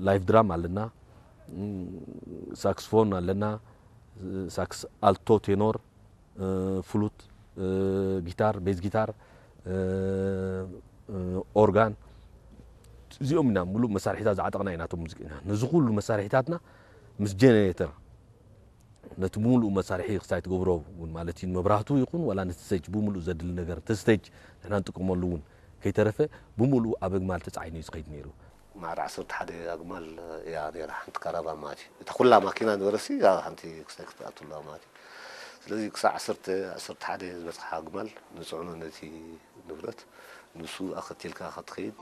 ላይፍ ድራም ኣለና፣ ሳክስፎን ኣለና፣ ሳክስ ኣልቶ፣ ቴኖር፣ ፍሉት፣ ጊታር፣ ቤዝ ጊታር፣ ኦርጋን፣ እዚኦም ኢና ሙሉእ መሳርሒታት ዝዓጠቕና ኢና። እቶም ሙዚቀኛ ነዚ ኩሉ መሳርሒታትና ምስ ጀነሬተር ነቲ ብምሉእ መሳርሒ ክሳይ ትገብሮ እውን ማለት እዩ፣ መብራህቱ ይኹን ዋላ ነቲ ስቴጅ ብምሉእ ዘድሊ ነገር፣ እቲ ስቴጅ ንሕና ንጥቀመሉ እውን ከይተረፈ ብምሉእ ኣብ ኣግማል ተጻዒኑ እዩ ዝኸይድ ነይሩ። ማዕረ ዓሰርተ ሓደ ኣግማል እያ ነይራ ሓንቲ ካራቫን ማለት እዩ። እታ ኩላ ማኪና ነበረሲ እዛ ሓንቲ ክሳይ ክትኣቱ ኣለዋ ማለት እዩ። ስለዚ ክሳዕ ዓሰርተ፣ ዓሰርተ ሓደ ዝበጽሓ ኣግማል ንጽዕኖ ነቲ ንብረት፣ ንሱ ኣኸቲልካ ክትኸይድ።